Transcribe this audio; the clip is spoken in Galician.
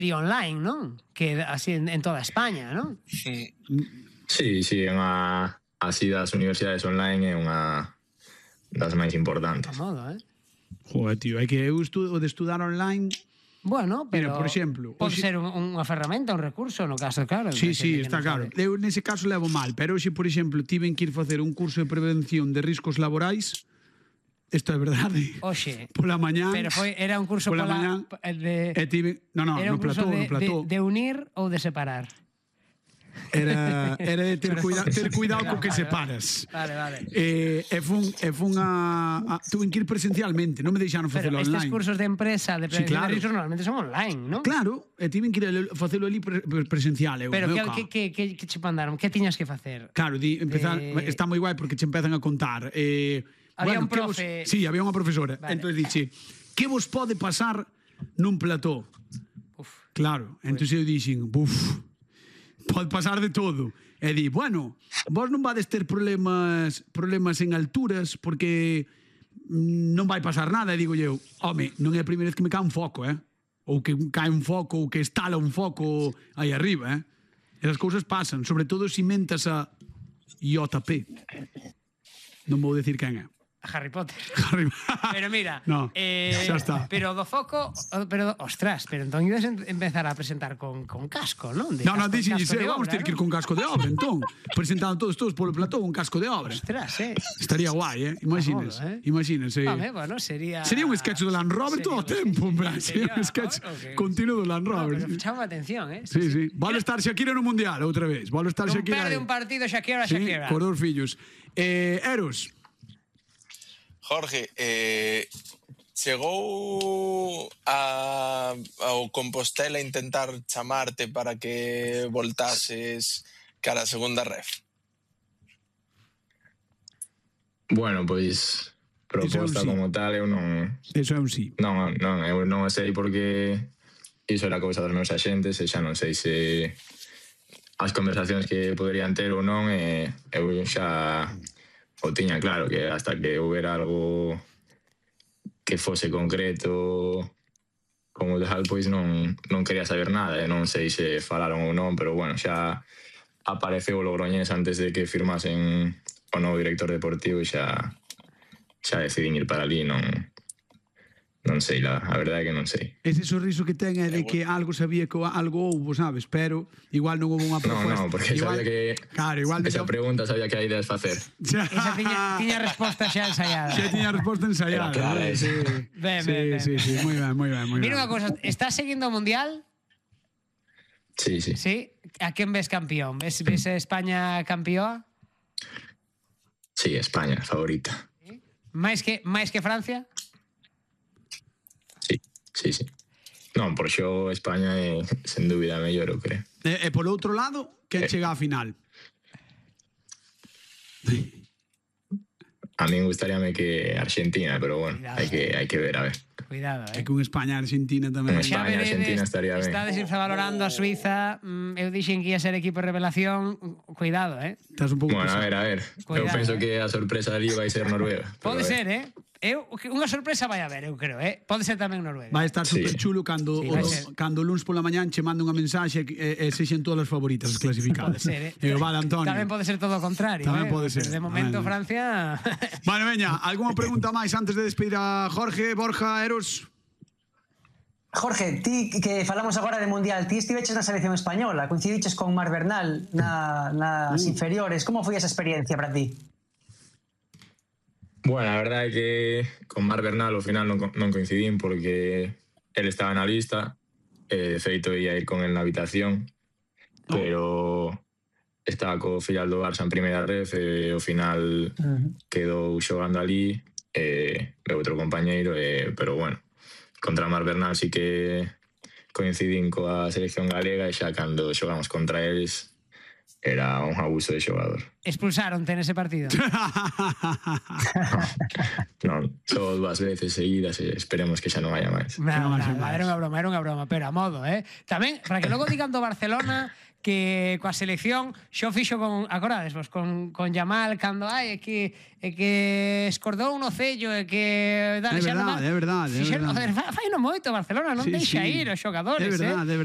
e online, non? Que así en toda España, non? Sí, así das universidades online é unha das máis importantes. A modo, Joder, tío, é que eu o de estudar online... Bueno, pero mira, por exemplo, pode ser unha ferramenta, un recurso, no caso, claro. Sí, está claro. Eu nese caso levo mal, pero hoxe, por exemplo, tiven que ir facer un curso de prevención de riscos laborais. Isto é verdade. Oxe. Pola mañá. Pero era un curso pola mañá. No plató. De unir ou de separar? Era de ter cuidado co que separas. Vale. Fun a tuve que ir presencialmente, non me deixaron facelo online. Pero estes cursos de empresa de prevención de riscos normalmente son online, non? Claro, tiven que ir a facelo ali presencial. Pero que che mandaron? Que tiñas que facer? Claro, empezar, está moi guai porque che empezan a contar. Había un profe... Sí, había unha profesora. Entón dixe, que vos pode pasar nun plató? Claro, entón eu dixen, pode pasar de todo. E di, bueno, vos non vades ter problemas en alturas porque non vai pasar nada. E digo eu, home, non é a primeira vez que me cae un foco, ou que cae un foco, ou que estala un foco aí arriba, Esas cousas pasan, sobre todo se mentas a JP. Non vou decir quen é. Harry Potter. Pero mira, no, xa está. Pero do foco, ostras, pero entón ibas empezar a presentar con casco, non? Non, dixenlle, vamos ter que ir con casco de obra, entón. Presentando todos polo plató un casco de obra. Ostras, Estaría guai, imagínense. Bueno, sería un sketch do Land Rover todo o tempo, en plan. Sería un sketch continuo do Land Rover. Pero chama atención, Sí. Vale estar Shakira no Mundial, outra vez. Vale estar Shakira. Non perde un partido Shakira. Cos dous fillos. Eros. Jorge, chegou ao Compostela a intentar chamarte para que voltases cara a segunda ref? Bueno, pois proposta como tal eu non... Eso é un sí. Non, eu non sei porque iso era cousa dos meus axentes e xa non sei se as conversacións que poderían ter ou non eu xa o tiña claro que hasta que houbera algo que fose concreto como tal, pois non quería saber nada e non sei se falaron ou non, pero bueno, xa apareceu o Logroñés antes de que firmasen o novo director deportivo e xa decidín ir para ali, non sei, a verdade é que non sei. Ese sorriso que ten é de que algo sabía que algo houbo, sabes? Pero igual non houbo unha proposta. Non, porque sabía que esa pregunta sabía que hai ideas facer. Esa tiña resposta xa ensaiada. Xa tiña resposta ensaiada. Sí, moi ben. Mira unha cosa, estás seguindo o Mundial? Sí. Sí? A quen ves campeón? Ves a España campeoa? Sí, España, favorita. Máis que Francia? Sí. Non, por xo España é sen dúbida mellor, eu creo. E por outro lado, quen chega á final? A min gustaríame que Argentina, pero bueno, hai que ver, a ver. Cuidado, É que un España-Argentina tamén. Un España-Argentina estaría ben. Estades infravalorando a Suiza, eu dixen que ia ser equipo de revelación, cuidado, Estás un pouco Bueno, a ver. Eu penso que a sorpresa ali vai ser Noruega. Pode ser, unha sorpresa vai haber, eu creo, Pode ser tamén Noruega. Vai estar super chulo cando o luns pola mañán che manda unha mensaxe e sexen todas as favoritas as clasificadas. Pode ser, Vale, Antonio. Tamén pode ser todo o contrario. Tamén pode ser. De momento, Francia... Bueno, veña, algunha pregunta máis antes de despedir a Jorge, Borja, Eros? Jorge, ti que falamos agora de Mundial, ti estiveches na selección española, coincidiches con Marc Bernal nas inferiores, como foi esa experiencia para ti? Bueno, a verdade é que con Marc Bernal ao final non coincidín porque él estaba na lista, de feito ia ir con él na habitación, pero estaba co filial do Barça en primeira ref e ao final quedou xogando ali outro compañeiro, pero bueno, contra Marc Bernal sí que coincidín coa selección galega e xa cando xogamos contra eles era un abuso de xogador. Expulsaronte nese partido? Non, só 2 veces seguidas e esperemos que xa non haya máis. Era unha broma, pero a modo, Tamén, para que logo digan do Barcelona que coa selección xo fixo con, acordades vos, con Yamal cando é que escordou un ocello e que é verdade. Fai non moito Barcelona, non deixa ir os xogadores. É verdade.